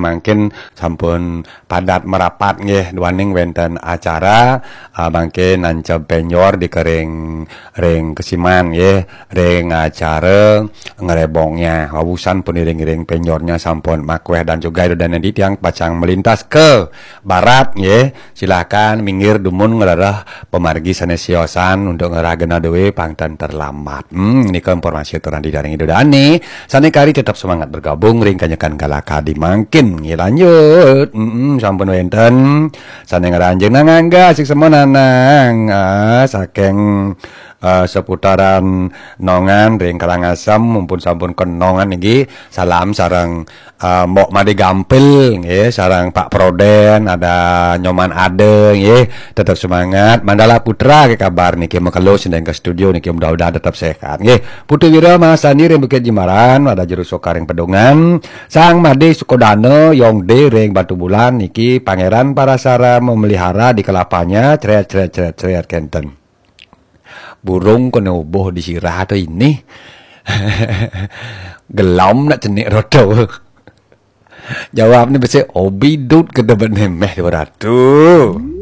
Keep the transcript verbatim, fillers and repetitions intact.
Mangkin sampun padat merapat nggih, duaning wenten acara, eh, mangkin nancep penjor di kering ring kesiman nggih, ring acara ngerebongnya. Wawusan pun iring-iring penjornya sampun makweh dan juga Ida Dane di tiang pacang melintas ke barat nggih. Silahkan minggir dumun ngerereh pemargi sane siosan untuk ngerah genah dewe pang tan terlambat. Hmm, nika informasi aturan di daring Ida Dane. Sane kari tetap semangat bergabung ring kanyekan galakadi mangkin. Nggih, lanjut. Hmm, sampun wenten sane ngranjing nang angga sik semua nanang. Ah, saking eh, seputaran Nongan ring Karangasem, mumpun sampun ke Nongan niki, salam sareng eh, Mbok Made Gampil nggih, sareng Pak Proden, ada Nyoman Ade nggih, tetap semangat. Mandala Putra ke kabar niki, makelo sindeng ke studio niki, mudah-mudahan tetap sehat nggih. Putu Wira Mahasani ring Bukit Jimbaran, ada Jero Soka ring Pedungan, Sang Made Sukodana, Yong De ring Batubulan niki, Pangeran Parasara memelihara di kelapanya, cret cret cret cret kenten. Burung kena ubuh di sirah tu ini. Gelom nak cenik roto. Jawab ni besi obi dut ke debet nemeh dua ratu.